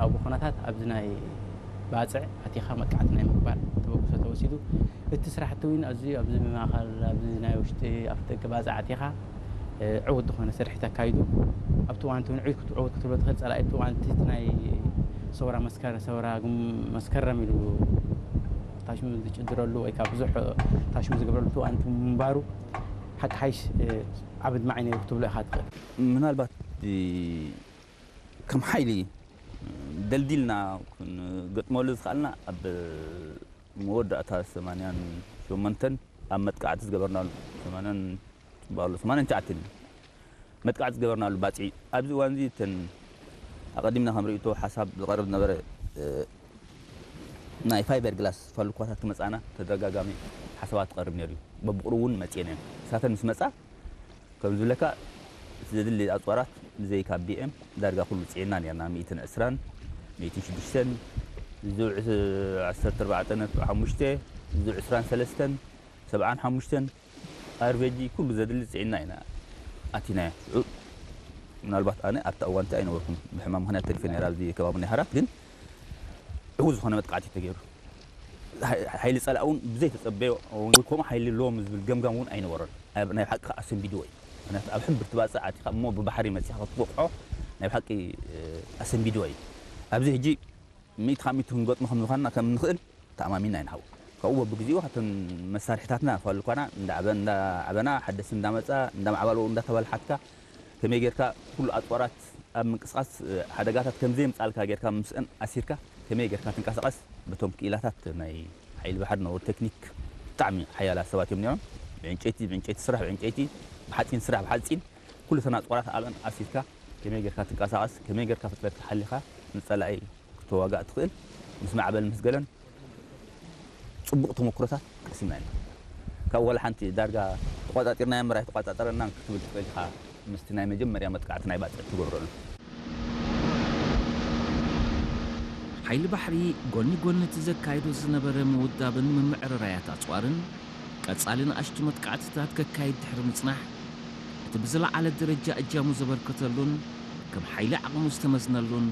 ኣብኡ ኩነታት ኣብዚ ናይ ባጽዕ ኣቲኻ መጥቃዕቲ ናይ ምግባር ተበግሶ ተወሲዱ። እቲ ስራሕቲ እውን ኣዝዩ ኣብዚ ማእኸል ኣብዚ ናይ ውሽጢ ኣፍደገ ባጽዕ ኣቲኻ ዕውት ዝኾነ ስርሒት ኣካይዱ። ኣብቲ እዋን እቲ እውን ዕውት ዕውት ክትብሎ ትኽእል ጸላኢ ኣብቲ እዋን እቲ ናይ ሰውራ መስከረ ሰውራ መስከረም ኢሉ ታሽሙ ዝጭድረሉ ወይ ከዓ ብዙሕ ታሽሙ ዝገብረሉ እቲ እዋን እቲ ምንባሩ ሓቂ ሓይሽ ዓብድ ማዓይ ነይሩ ክትብሎ ኢኻ ትኽእል። ምናልባት ከም ሓይሊ ደልዲልና ክንገጥመሉ ዝኽኣልና ኣብ መወዳእታ ሰማንያን ሸሞንተን ኣብ መጥቃዕቲ ዝገበርናሉ ሰማንያን ባሉ ሰማንያን ትሽዓተን መጥቃዕቲ ዝገበርናሉ ባፅዒ ኣብዚ እዋን እዚ እተን ኣቐዲምና ከም ርእይቶ ሓሳብ ዝቐርብ ዝነበረ ናይ ፋይበር ግላስ ፋሉኳታት ክመፃና ተደጋጋሚ ሓሳባት ትቐርብ ነይሩ እዩ። በብቕሩ እውን መፅኤን እየን። እሳተን ምስ መፃ ከም ዝብለካ እቲ ዘድሊ ኣፅዋራት ብዘይካ ቢኤም ዳርጋ ኩሉ ፅዒና ነርና ሚእትን ዕስራን ሚእትን ሽዱሽተን ዝውዕ ዓሰርተ ኣርባዕተ ነጥቢ ሓሙሽተ ዝውዕ ዕስራን ሰለስተን ሰብዓን ሓሙሽተን ኣርቬጂ ኩሉ ዘድሊ ፅዒና ኢና ኣቲናዮ። ሽዑ ምናልባት ኣነ ኣብቲ እዋንቲ ኣይነበርኩን ብሕማም ምክንያት ተሪፈ ነራ ኣብዚ ከባቢ ናይ ሃራት ግን ዕው ዝኾነ መጥቃዕቲ ተገይሩ ሓይሊ ፀላእ እውን ብዘይተፀበዮ ከምኡ ሓይሊ ሎም ዝብል ገምጋም እውን ኣይነበሮን። ናይ ብሓቂ ከዓ ኣሰንቢድዎ እዩ። ምክንያቱ ኣብ ሕምብርቲ ባፅዕ ኣቲካ እሞ ብባሕሪ መፂኻ ክትወቅዖ ናይ ብሓቂ ኣሰንቢድዎ እዩ። ኣብዚ ሕጂ ሚእቲ ካብ ሚእቲ ክንገጥሞ ከም ዝኾንና ከም ንኽእል ተኣማሚና ኢና ሓው። ካብኡ በብግዜኡ ካብተን መሳርሒታትና ክፋሉ ኳና እንዳዓበና ሓደስ እንዳመፃ እንዳማዕባልዎ እንዳተባልሓትካ ከመይ ጌርካ ኩሉ ኣፅዋራት ኣብ ምንቅስቃስ ሓደጋታት ከም ዘየምፃልካ ጌርካ ምስአን ኣሲርካ ከመይ ጌርካ ትንቀሳቀስ በቶም ክኢላታት ናይ ሓይሊ ባሕሪ ነበሩ ቴክኒክ ብጣዕሚ ሓያላት ሰባት እዮም ነይሮም። ብዕንጨይቲ ብዕንጨይቲ ስራሕ ብዕንጨይቲ ብሓፂን ስራሕ ብሓፂን ኩሉ ተን ኣፅዋራት ኣብአን ኣሲርካ ከመይ ጌርካ ትንቀሳቀስ ከመይ ጌርካ ፍጥነትካ ሓሊኻ ንፀላኢ ክትዋጋእ ትኽእል ምስ ማዕበል ምስ ገለን ፅቡቕ ተመክሮታት ቀሲምና ኢና። ካብ ዋላ ሓንቲ ዳርጋ ተቋፃፂርናዮ እምበር ኣይተቋፃፀረናን ክትብል ትኽእል ኢኻ ምስቲ ናይ መጀመርያ መጥቃዕቲ ናይ ባፅዕ ትገብረሉ። ሓይሊ ባሕሪ ጎኒ ጎኒ እቲ ዘካይዶ ዝነበረ ምውዳብን ምምዕርራያት ኣፅዋርን ቀፃሊ ንኣሽቱ መጥቃዕትታት ከካይድ ድሕሪ ምፅናሕ እቲ ብዝለዓለ ደረጃ እጃሙ ዘበርከተሉን ከም ሓይሊ ዓቕሙ ዝተመዝነሉን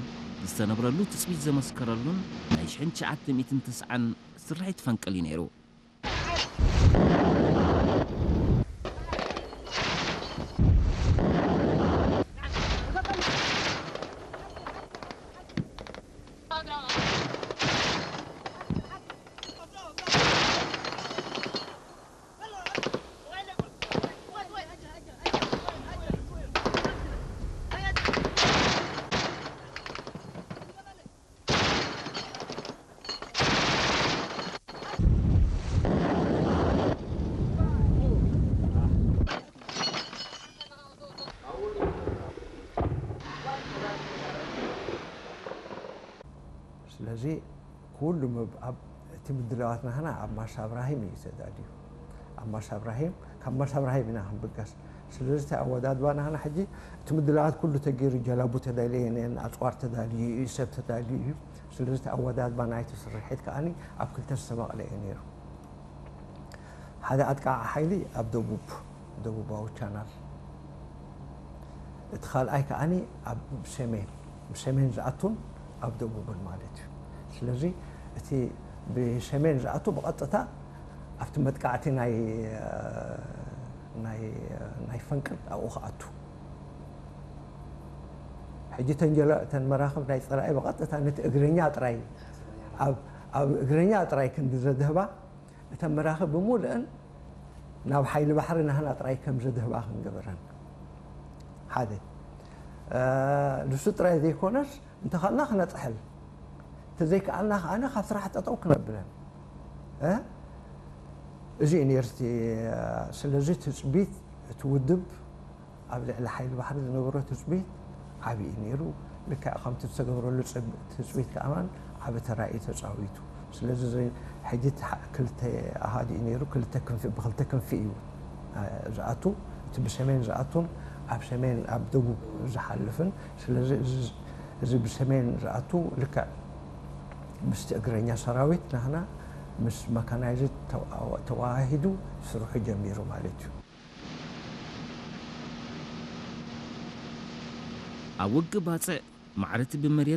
ዝተነብረሉ ትፅቢት ዘመስከረሉን ናይ ሽሕን ትሽዓተ ሚእትን ተስዓን ስርሒት ፈንቅል እዩ ነይሩ። ስለዚ ኩሉ እቲ ምድላዋት ናህና ኣብ ማሻ እብራሂም እዩ ተዳልዩ። ኣብ ማሻ እብራሂም ካብ ማሻ እብራሂም ኢና ክንብገስ። ስለዚ እቲ ኣወዳድባ ናህና ሕጂ እቲ ምድላዋት ኩሉ ተገይሩ ጀላቡ ተዳልየን እየን፣ ኣፅዋር ተዳልዩ እዩ፣ ሰብ ተዳልዩ እዩ። ስለዚ እቲ ኣወዳድባ ናይቲ ስርሒት ከዓኒ ኣብ ክልተ ዝተመቕለ እዩ ነይሩ። ሓደ ኣጥቃዓ ሓይሊ ኣብ ደቡብ ደቡባዊ ቻናል፣ እቲ ካልኣይ ከዓኒ ኣብ ሰሜን ብሰሜን ዝኣቱን ኣብ ደቡብን ማለት እዩ። ስለዚ እቲ ብሰሜን ዝኣቱ ብቐጥታ ኣብቲ መጥቃዕቲ ናይ ናይ ናይ ፈንቅል ኣብኡ ክኣቱ ሕጂ ተንጀላ እተን መራኽብ ናይ ፀላኢ ብቐጥታ ነቲ እግረኛ ጥራይ ኣብ እግረኛ ጥራይ ክንዲ ዘድህባ እተን መራኽብ ብምሉእን ናብ ሓይሊ ባሕሪ ናህና ጥራይ ከም ዘድህባ ክንገብረን ሓደ ንሱ ጥራይ ዘይኮነስ እንተኸልና ክነፅሕል እንተዘይከኣልና ከዓነ ካብ ስራሕ ጠጠው ክነብለን እዚ እዩ ነርሲ ስለዚ ትፅቢት እቲ ውድብ ኣብ ልዕሊ ሓይሊ ባሕሪ ዝነበሮ ትፅቢት ዓብዪ ነይሩ። ልክዕ ከምቲ ዝተገብረሉ ትፅቢት ከኣማን ዓቢ ተራ እዩ ተፃዊቱ። ስለዚ ሕጂ ክልተ ኣሃዱ እዩ ነይሩ። ክልተ ክንፊ ብክልተ ክንፊ እዩ ዝኣቱ። እቲ ብሰሜን ዝኣቱን ኣብ ሰሜን ኣብ ደቡብ ዝሓልፍን። ስለዚ እዚ ብሰሜን ዝኣቱ ልክዕ ምስቲ እግረኛ ሰራዊት ናህና ምስ መካናይዝድ ተዋሂዱ ስርሑ ጀሚሩ ማለት እዩ። ኣብ ውግእ ባጽዕ ማዕረቲ ብመሬት